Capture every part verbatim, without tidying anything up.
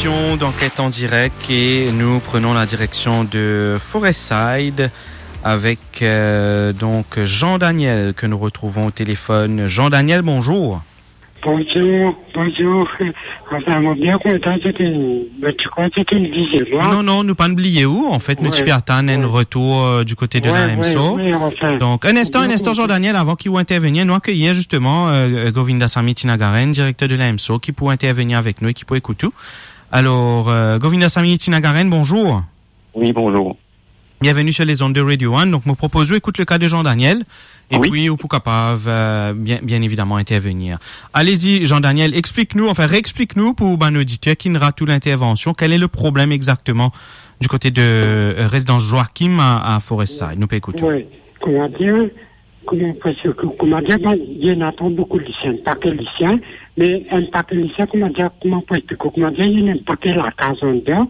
D'enquête en direct et nous prenons la direction de Forest Side avec, euh, donc Jean Daniel que nous retrouvons au téléphone. Jean Daniel, bonjour. Bonjour, bonjour. Anfin, mo bien kontan, se te, mo ti krwar se te enn diziem mwa. Non, non, nou pa'nn bliye ou. Anfet, nou ti pe atann enn retour, euh, du côté de l'A M S O. Wi, wi, anfin. Donc, un instant, un instant, Jean Daniel, avant ki ou intervenir, nou akeyir justement, euh, Govindasamy Tinagaran, directeur de l'A M S O, ki pou intervenir avec nous et ki pou écouter ou. Alors, euh, Govindasamy Tinagaran, bonjour. Oui, bonjour. Bienvenue sur les ondes de Radio One. Donc, mo propoz ou écoute le cas de Jean Daniel. Et puis, ou pou kapav, euh, bien, bien évidemment, intervenir. Allez-y, Jean Daniel, explique-nous, enfin, réexplique-nous pour bann auditeur ki'nn rat ou l'intervention, quel est le problème exactement du côté de, euh, résidence Joachim à, à Forest Side. Nou pe ekout ou. Wi, kouma dir, kouma, parski, kouma dir, ben, ena tro boukou lisien, enn pake lisien, me enn pake lisien, kouma dir, kouma pou explike, kouma dir, ena enn pake lakaz andan,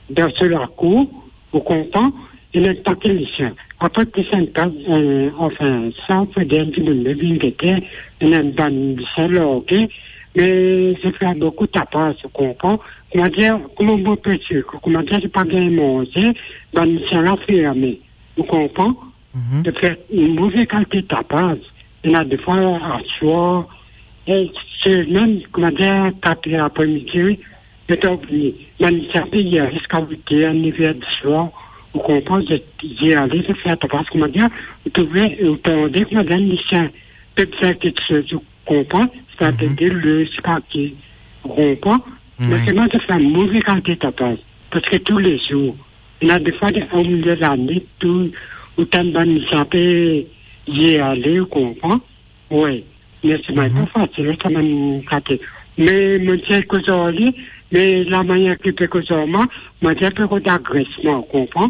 dan so lakour, ou konpran, ena enn pake lisien. Apre, plis enn kaz, euh, anfin, sa, pou dir enn dimoun, me vinn gete, ena enn bann lisien large, me zot fer boukou tapaz, ou konpran. Kouma dir, kouma mo pe explike, kouma dir, zot pa gagn manze, bann lisien la ferme, ou konpran. Mhm. Zot fer enn move kalite tapaz. Ena defwa aswar, e se mem, kouma dir, kat er apre midi, letan ou vini, bann lisien pe ale ziska wit er, nev er diswar, ou konpran, zot, zot ale, zot fer tapaz, kouma dir, ou trouve, ou tande, kouma dir, lisien pe fer kiksoz, ou konpran, sa pe de le, ziska ki, ou konpran. Wi. Me selman zot fer move kalite tapaz, parski toulezour, ena defwa de, omilie lanwit, tou, ou tann bann lisien pe ale, ou konpran. Wi, me selman pa fasil, sa bann kate. Me mo ti koz ar li, me lamanier ki pe koz ar mwa, mo dir pe rod agresman, ou konpran?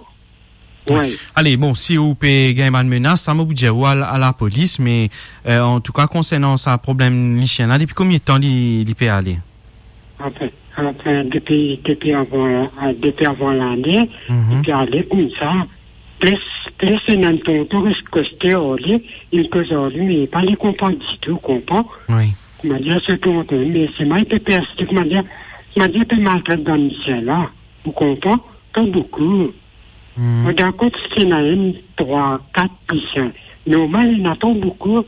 Wi. Ale, bon, si ou pe gagn bann menas, sa mo pou dir ou al, al lapolis, me, euh, antouka, konsernan sa problem lisien la, depi konbien tan li, li pe ale? Anfin, anfin, depi, depi avan, euh, depi avan lane, mhm, li pe ale koumsa. Plis, plis ena enn tonton res koste ar li, inn koz ar li, me pa li konpran ditou, konpran? Wi. Kouma dir, se tonton, me selman li pe persiste, kouma dir, kouma dir, pe maltret bann lisien la, ou konpran? Pa boukou. Hmm. Mo dakor si ena enn, trwa, kat lisien. Normal, ena tro boukou.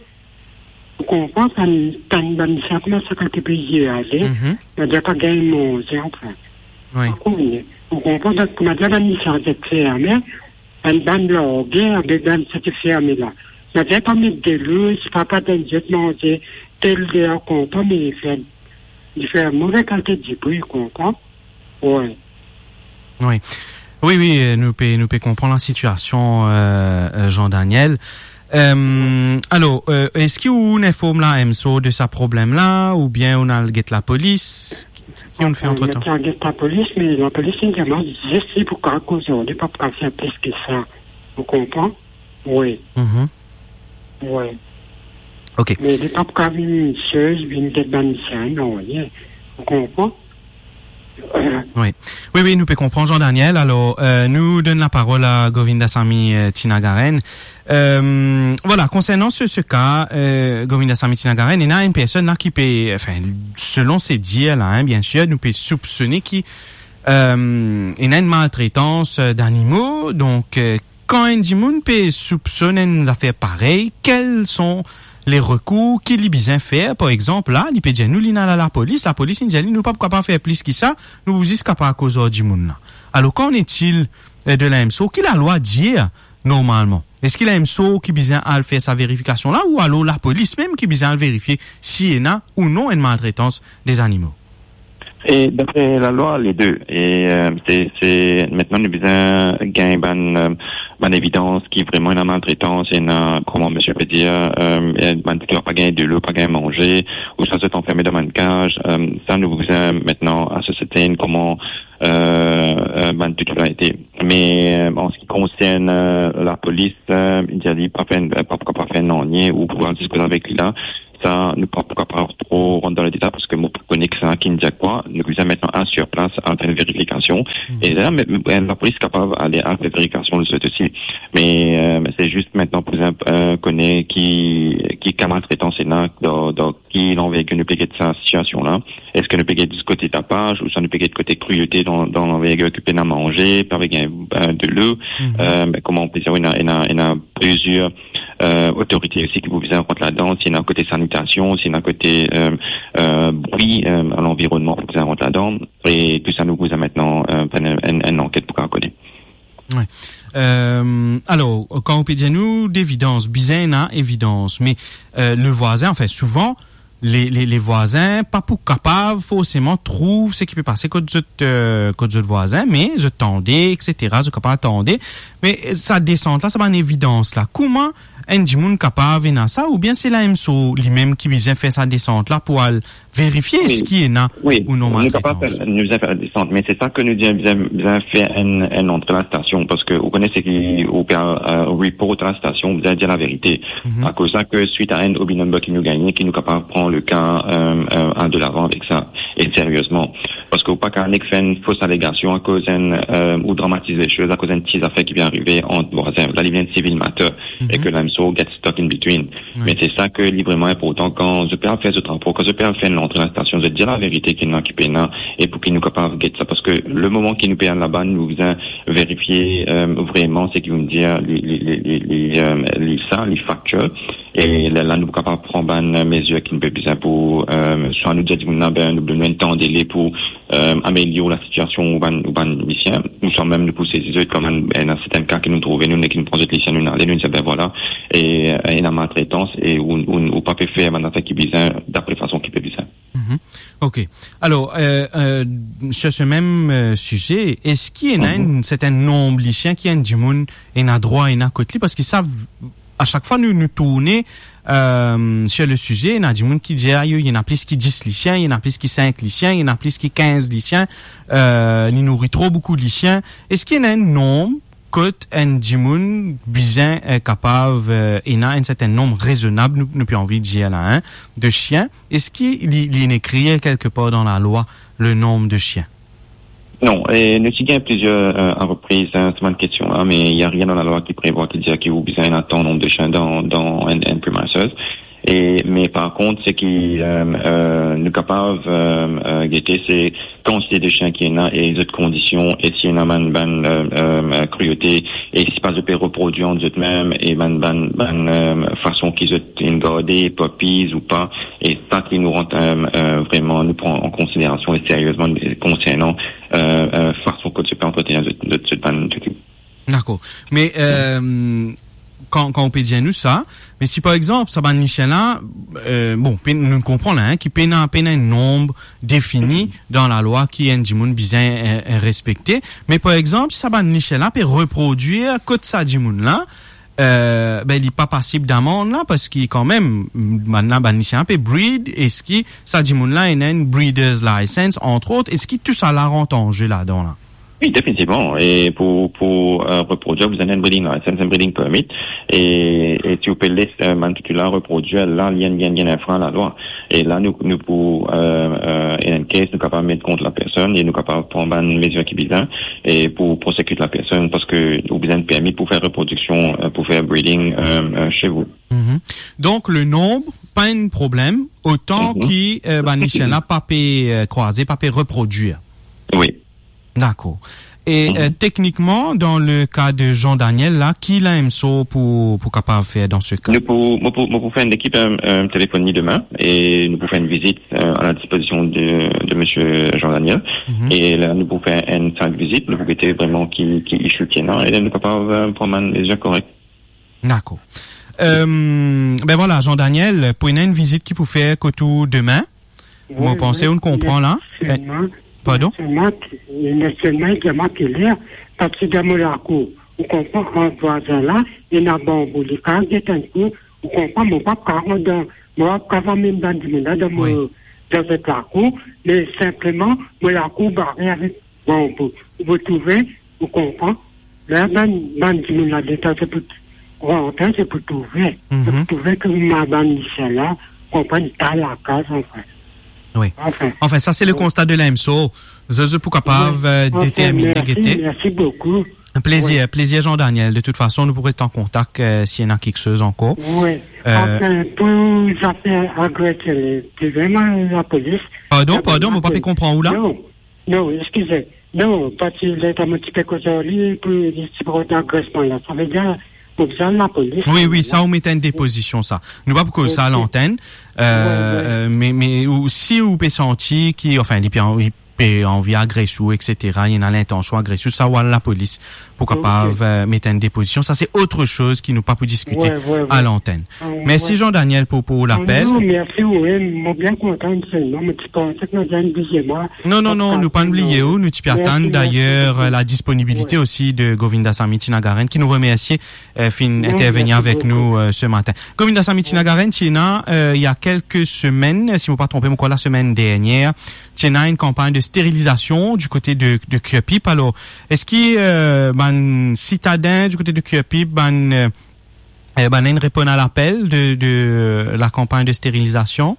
Ou konpran, kan, kan bann lisien koumans, kan ti pe ale, mhm, kouma dir pa gagn manze, anfin. Wi. Ou konpran, donk, kouma dir bann lisien zot ferme, bann, bann large, avek bann sa ti ferme la. Kouma dir pa met delo, si pa, pa donn zot manze, tel ler, ou konpran, me li fer, li fer move kalite dibri, ou konpran. Wi. Wi. Wi, wi, euh, nou pe, nou pe konpran la sitiasion, euh, euh, Jean Daniel. Euh, alor, euh, eski ou inform la M S O de sa problem la, oubien ou al get lapolis? Ki, ki ou fer antretan? Mo ti al get lapolis, me lapolis inn dir mwa zis li pou kapav koz ar li, pa pou kapav fer plis ki sa. Ou konpran? Wi. Mhm. Wi. Ok. Me li pa pou kapav vinn sez, vinn get bann lisien, non, wi. Ou konpran? Wi. Wi, wi, nou pe konpran, Jean Daniel. Alor, euh, nou donn laparol a Govindasamy, euh, Tinagaran. Euh, vwala, konsernan se, se ka, euh, Govindasamy Tinagaran, ena enn personn la ki pe, anfin, selon se dir la, hein, biensir, nou pe soupsone ki, euh, ena enn maltretans, euh, danimo. Donk, euh, kan enn dimoun pe soupsonn enn zafer parey, kel son le rekour ki li bizin fer? Par exanp, la, li pe dir nou li inn al lapolis, lapolis inn dir li, nou pa pou kapav fer plis ki sa, nou pou zis kapav koz ar dimoun la. Alor, qu'en est-il, euh, de la M S O? Ki lalwa dir normalman? Eski la M S O ki bizin al fer sa verifikasion la, ou alor lapolis mem ki bizin al verifie si ena ou non enn maltretans de zanimo? E dapre lalwa, le de. E, euh, se, se, aster nou bizin gagn bann, euh, bann evidans ki vreman ena maltretans, ena, kouma misie pe dir, euh, bann ki pa gagn delo, pa gagn manze, ouswa zot anferme dan bann kaz. Euh, sa nou bizin aster asirte kouma, euh, euh, bann titilarite. Me, euh, an se ki konsern, euh, lapolis, euh, li dir li pa fer, pa, pa fer nanye, ou pou al diskit avek li la. sa, nou pa pou kapav tro rant dan ledetay, parski mo pa kone ki sa ki'nn dir kwa. Nou bizin aster la al fer enn verifikasion. E la, me, me, lapolis kapav ale al fer verifikasion zot osi. Me, euh, se zis aster pou bizin, euh, kone ki, ki ka maltretans ena, dan, dan ki lanver ki nou pe get sa sitiasion la. Eski nou pe get kote tapaz, ouswa nou pe get kote kriyote dan, dan lanver ki pena manze, pe avek enn, euh, delo. Euh, kouma nou pe dir, ena, ena, ena plizier, euh, otorite osi ki pou bizin rant ladan, si ena kote sanitasion, si ena kote, euh, euh, bri, euh, a lanvironnman pou bizin rant ladan. E tou sa nou bizin aster, euh, fer enn, enn, enn lanket pou kapav kone. Wi. Euh, alor, kan ou pe dir nou devidans, bizin ena evidans, me, euh, le vwazin, anfin, souvan, le, le, le vwazin pa pou kapav forseman trouv seki pe pase kot zot, euh, kot zot vwazin, me zot tande, et cetera, zot kapav tande. Me sa desant la, sa bann evidans la, kouma enn dimoun kapav ena sa, oubien se la M S O limem ki bizin fer sa desant la pou al verifie eski ena ou non maltretans? Wi, nou kapav fer, nou bizin fer desant, me se sa ki nou dir, bizin, bizin fer enn, enn antre lastasion, parski ou kone seki ou pe, euh, report lastasion, bizin dir laverite. Akoz sa ki swit a enn O B number ki nou gagne, ki nou kapav pran le ka, euh, euh, de lavan avek sa, e seriezman. Parski ou pa kapav nek fer enn fos alegasion akoz enn, euh, ou dramatiz lesoz akoz enn ti zafer ki pe arive ant vwazin. La, li vinn civil matter, e ki la M S O get stuck in between. Wi. Me se sa ki li vreman inportan, kan zot pe al fer zot rapor, kan zot pe al fer enn lantre lastasion, zot dir laverite ki ena, ki pena, e pou ki nou kapav get sa. Parski le moman ki nou pe al laba, nou bizin verifie, euh, vreman seki ou'nn dir, li, li, li, li, li, euh, li sa, li factual. E la, la nou kapav pran bann mezir ki nou pe bizin pou, euh, swa nou dir dimoun la, be, nou donn enn tan dele pou, euh, amelior lasitiasion ou bann, ou bann lisien, ouswa mem nou pou sezi zot kan mem ena sertin ka ki nou trouve, nou, ki nou pran zot lisien, nou ale, nou dir, be vwala, e, euh, ena maltretans, e ou, ou, ou pa pe fer bann zafer ki bizin, dapre fason ki pe bizin. Mhm. Ok. Alor, euh, euh, sur ce même, euh, sujet, eski ena enn sertin nonb lisien ki enn dimoun ena drwa ena kot li? Parski sa, a sak fwa nou, nou tourne, euh, sur le sujet, ena dimoun ki dir, ayo, ena plis ki dis lisien, ena plis ki sink lisien, ena plis ki kinz lisien, euh, li nouri tro boukou lisien. Eski ena enn nonb kot enn dimoun bizin, euh, kapav, euh, ena enn sertin nonb rezonab, nou, nou pe anvi dir la, hein, de sien? Eski li, li ena ekrir kelkepar dan lalwa, le nonb de sien? Non, e nou ti gagn plizier, euh, repriz, hein, sa bann kestion la, me ena rien dan lalwa ki prevwa ki dir ki ou bizin ena tan nonb de sien dan, dan enn, enn premises. E, me par kont, seki, euh, euh, nou kapav, euh, euh, gete, se kantite de sien ki ena e zot kondision, e si ena bann, bann, euh, euh, kriyote, e si pa zot pe reprodwir ant zot mem, e bann, bann, bann, euh, fason ki zot inn garde, puppies ou pa, e sa ki nou rant, euh, euh, vreman, nou pran an konsiderasion e seriezman, konsernan, euh, euh, fason kot zot pe antretenir zot, zot, zot bann toutou. Dakor. Me, euh, kan, kan ou pe dir nou sa, me si par exanp, sa bann lisien la, euh, bon, pe, nou konpran la, hein, ki pena, pena enn nonb defini dan lalwa ki enn dimoun bizin, euh, euh, respekte, me par exanp, si sa bann lisien la pe reprodwir kot sa dimoun la, euh, be, li pa pasib damann la, parski kan mem, bann la, bann lisien la pe breed, eski sa dimoun la ena enn breeder's license, entre autres, eski tou sa la rant an ze ladan la? Wi, definitivman. E pou, pou, euh, reprodwir, ou bizin enn breeding license, enn breeding permit. E, e si ou pe les, euh, bann toutou la reprodwir, la, li enn, li enn, li enn enfrein a lalwa. E la, nou, nou pou, euh, euh, in any case, nou kapav met kont lapersonn e nou kapav pran bann mezir ki bizin e pou prosekit lapersonn, parski ou bizin permi pou fer reprodiksion, euh, pou fer breeding, euh, euh, chez vous. Mhm. Donk, le nonb, pa enn problem, otan ki, euh, bann lisien la pa pe, euh, krwaze, pa pe reprodwir. Wi. Dakor. E, euh, teknikman, dan le ka de Jean Daniel la, ki la M S O pou, pou kapav fer dan se ka? Nou pou, mo pou, mo pou fer enn ekip, euh, euh, telefoni demin e nou pou fer enn vizit, euh, a la dispozision de, de misie Jean Daniel. Mhm. E la, nou pou fer enn site visit, nou pou gete vreman ki, ki issue ki ena, e la, nou kapav, euh, pran bann mezir korek. Dakor. Euh, be vwala, Jean Daniel, pou ena enn vizit ki pou fer kot ou demin, mo panse ou'nn konpran la. Wi, wi, ena selman, pardon? Ena selman ki, ena selman ki ena keler, parski dan mo lakour, ou konpran, ant vwazin la, ena banbou, li kapav get enn kou, ou konpran, mo pa kapav dan, mo pa kapav amenn bann dimoun la dan mo, wi, dan zot lakour, me sinpleman, mo lakour bare avek Bon, pou, pou trouve, ou konpran. La, bann, bann dimoun la, letan se pou rantre, se pou trouve. Mhm. Se pou trouve ki ma bann lisien la, konpran, pa lakaz, anfin. Wi. Anfin. Anfin, sa se le konsta de l'AMSO. Zot, zot pou kapav, wi, euh, anfin, determine, mersi, gete. Mersi boukou. Plezir, wi, plezir, Jean-Daniel. De tout fason, nou pou res an kontak, euh, si ena kiksoz ankor. Wi. Euh, anfin, pou zafer agresyon, li, li vremem lapolis. Pardon, pardon, mo pa pe konpran ou la? Non. Non, eskize. Non, parski leta mo ti pe koz ar li, pou li ti pran agresyon la. Savedir, pou bizin lapolis. Wi, wi, sa ou met enn depozision, sa. Nou pa pou koz sa a lantenn. Wi, wi. Euh, euh, me, me ou, si ou pe santi ki, anfin, li pe an-, li pe anvi agres ou, et cetera, li ena lintansion agres ou, sa ou al lapolis pou kapav, euh, met enn depozision. Sa se otre soz ki nou pa pou diskite a lantenn. Wi, wi, wi. Mersi, Jean-Daniel, pou, pou lapel. Non, mersi, wi, mo bien kontan selman, mo ti panse ki nou ti bliye mwa. Non, non, non, nou pa'nn bliye ou, nou ti pe atann, mersi, mersi boukou, dayer, euh, la disponibilite osi de Govindasamy Tinagaran, ki nou remersie, euh, finn intervenir avek nou, euh, se matin. Mersi boukou. Govindasamy Tinagaran, ti ena, euh, il y a quelques semaines, si mo pa tronpe, mo krwar lasemenn dernier, ti ena enn kanpagn de sterilizasion du kote de, de Curepipe. Alor, eski, euh, bann sitaden du kote de Curepipe, bann, euh, eh ben, inn reponn a lapel de, de la kanpagn de sterilizasion?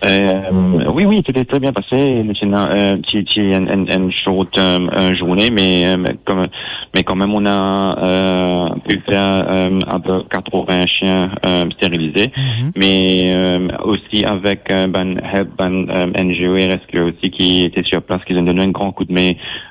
Euh, wi, wi, sa ti tre bien pase. Nou ti ena, euh, ti, ti enn, enn, enn short, euh, euh, zourne, me, euh, kan, me kanmem, nou ena, euh, pu fer, euh, apepre katrevin sien, euh, sterilize. Mhm. Me, euh, osi avek, euh, bann help, bann, euh, N G O R S Q osi ki ti ete sir plas, ki inn donn nou enn gran koudme,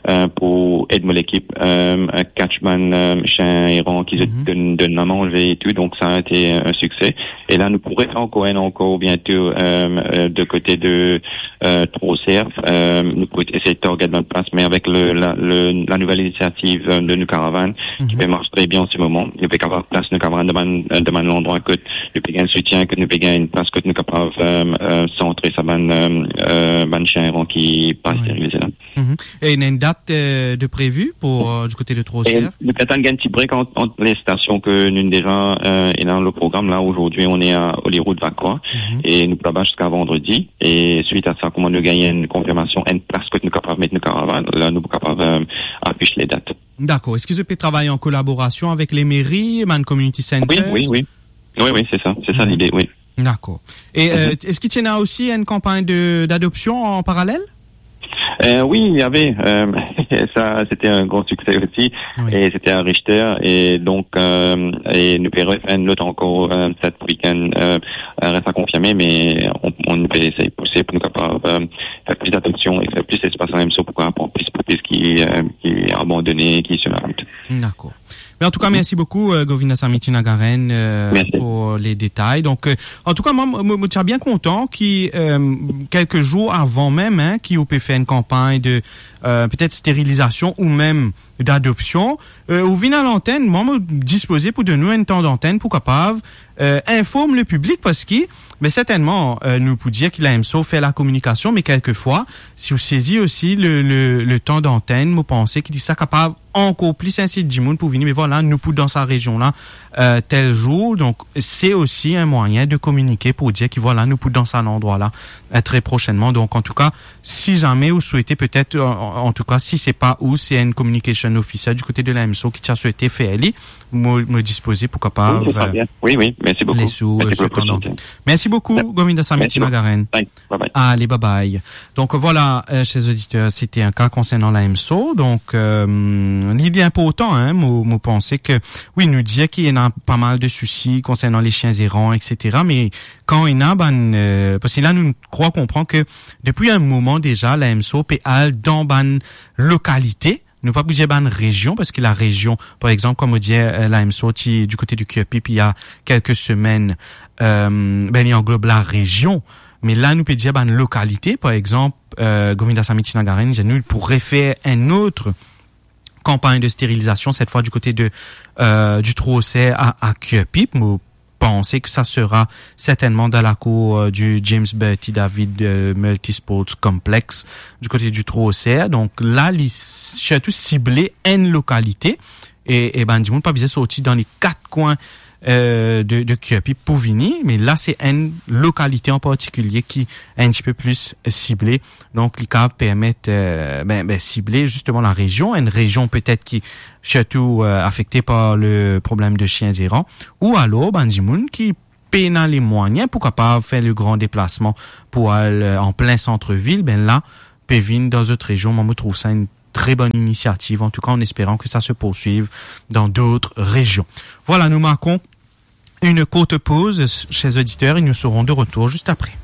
euh, pou ed mo lekip, euh, catch bann, euh, sien eran ki zot donn, donn lamanze e tou, donk sa ti ete enn sikse. E la, nou pou refer ankor enn ankor biento, euh, euh, de kote de, euh, Trois-Cerfs. Euh, nou pou esey target bann plas, me avek le, la, le, la nouvel inisiativ, euh, de nou karavann, ki pe mars tre bien an se moman, nou pe kapav plas nou karavann dan bann, euh, dan bann landrwa kot nou pe gagn soutien, kot nou pe gagn enn plas kot nou kapav, euh, euh, santre sa bann, euh, euh, bann sien eran ki pa sterilize la. Mhm. E ena enn dat, euh, de previ pou, euh, du kote de Trois-Cerfs? E nou pe atann gagn ti break ant, ant le stasion ke nou deza, euh, ena le program la. Aujourd'hui, on est à Holyrood, Vacoas, e nou pou laba ziska vandredi. E suit a sa, kouma nou gagn enn konfirmasion, enn plas kot nou kapav met nou karavann, la nou pou kapav, euh, afis le dat. Dakor. Eski zot pe travay an kolaborasion avek lemeri, bann community centers? Wi, wi, wi. Wi, wi, se sa. Se sa lide, wi. Dakor. E, euh, eski ti ena osi enn kanpagn de, d'adopsion an paralel? Euh, wi, il y avait, euh, sa, se ti enn gran sikse osi. Wi. E se ti a Richter. E donk, euh, e nou pe refer enn lot ankor, euh, set week-end, euh, euh, res a konfirme, me nou, nou pe esey pouse pou nou kapav, euh, fer plis adopsion e fer plis lespas an M S O pou kapav pran plis, plis ki, euh, ki abandone, ki sou larout. Dakor. Me antouka, mersi boukou, euh, Govindasamy Tinagaran, euh, pou le detay. Donk, euh, antouka, mwa, mo, mo ti bien kontan ki, euh, kelke zour avan mem, hein, ki ou pe fer enn kanpagn de, euh, petet sterilizasion ou mem d'adopsion, euh, ou vinn a lantenn, mwa, mo dispoze pou donn ou enn tan dantenn pou kapav, euh, inform le piblik, parski, me sertennman, euh, nou pou dir ki la M S O fer lakominikasion, me kelkefwa, si ou sezi osi le, le, le tan dantenn, mo panse ki sa kapav ankor plis insit dimoun pou vini, me vwala, nou pou dan sa rezion la, euh, tel zour. Donk, se osi enn mwayin de kominike pou dir ki, vwala, nou pou dan sa landrwa la, euh, tre prosennman. Donk, antouka, si zame ou swete petet, an, an, antouka, si se pa ou, se enn communication officer du kote de la M S O ki ti a swete fer li, mo, mo dispoze pou kapav, wi, se tre bien. Wi, wi, mersi boukou. Les ou, mersi, euh, pou lopportinite. Mersi boukou, Govindasamy Tinagaran. Mersi boukou. Bye. Bye bye. Ale, bye bye. Donk, vwala, euh, cher auditeur, se ti enn ka konsernan la M S O. Donk, euh, li, li inportan, hein, mo, mo panse ki, wi, nou dir ki ena pa mal de sousi konsernan les chiens errants, et cetera. Me kan ena bann, euh, parski la, nou krwar konpran ki depi enn moman deza, la M S O pe al dan bann lokalite, nou pa pou dir bann rezion, parski la rezion, par exanp, kouma mo dir, euh, la M S O ti du kote de Curepipe il y a quelques semaines, euh, ben, li anglob la rezion. Me la, nou pe dir bann lokalite, par exanp, euh, Govindasamy Tinagaran, nou pou refer enn lot kanpagn de sterilizasion, set fwa du kote de, euh, du Trois-Cerfs a, a Curepipe. Mo panse ki sa sera sertennman dan lakour, euh, du James Bertie David, euh, Multisports Complex, du kote du Trois-Cerfs. Donk la, li sirtou sible enn lokalite e, e bann dimoun pa bizin sorti dan le kat kwin, euh, de, de Curepipe pou vini, me la, se enn lokalite an partikilie ki enn tipe plis sible. Donk, li kapav permet, euh, ben, ben, sible zisteman la rezion, enn rezion petet ki sirtou, euh, afekte par le problem de chiens errants, ou alor bann dimoun ki pena les moyens pou kapav fer le gran deplasman pou al, euh, an plin sant-vil, ben la, pe vinn dan zot rezion. Mwa, mo trouv sa enn tre bonn inisiativ. An tou ka, an esperan ke sa se poursuiv dan dot rezion. Vwala, nou markon enn kourt poz, cher oditer, e nou serons de retour zis apre.